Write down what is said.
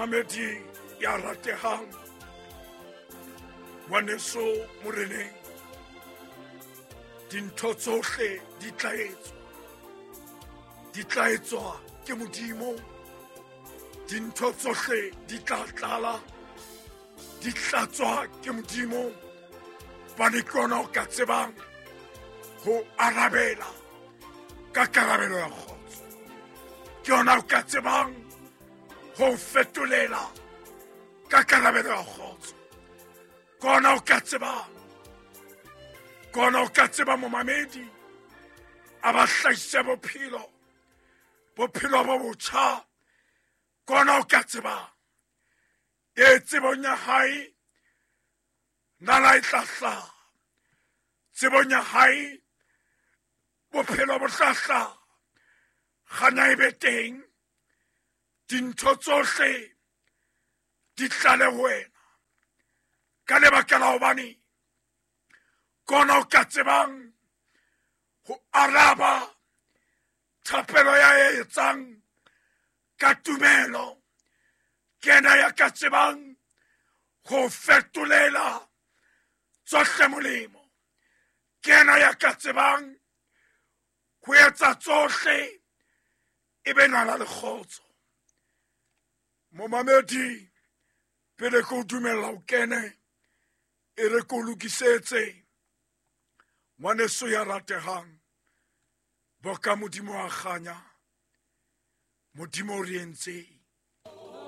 Momamedi ya ratehang, ngwaneso moreneng, dintho tsohle di tla etswa, di tla etswa ke Modimo. Dintho tsohle di tla tlala, di tlatswa ke Modimo. Bane ke ona o ka tsebang ho arabela ka karabelo ya kgotso, ke yona o ka tsebang ho fetolela ka karabelo ya kgotso, ke ona o ka tsebang, ke ona o ka tseba momamedi a ba hlahise bophelo, bophelo bo botjha, ke ona o ka tsebang. E tsebong ya hae nala e tla hlaha, tsebong ya hae bophelo bo tla hlaha, kganya e be teng, dintho tsohle di tlale ho wena ka lebaka la hobane ke ona o ka tsebang ho araba thapelo ya e etsang ka tumelo, ke yena ya ka tsebang ho fetolela tsohle molemo, ke yena ya ka tsebang ho etsa tsohle e be nala le kgotso. Momamedi, pele ke o dumella o kene, e re ke o lokisetse ngwaneso ya ratehang, boka Modimo wa kganya, Modimo o re entseng.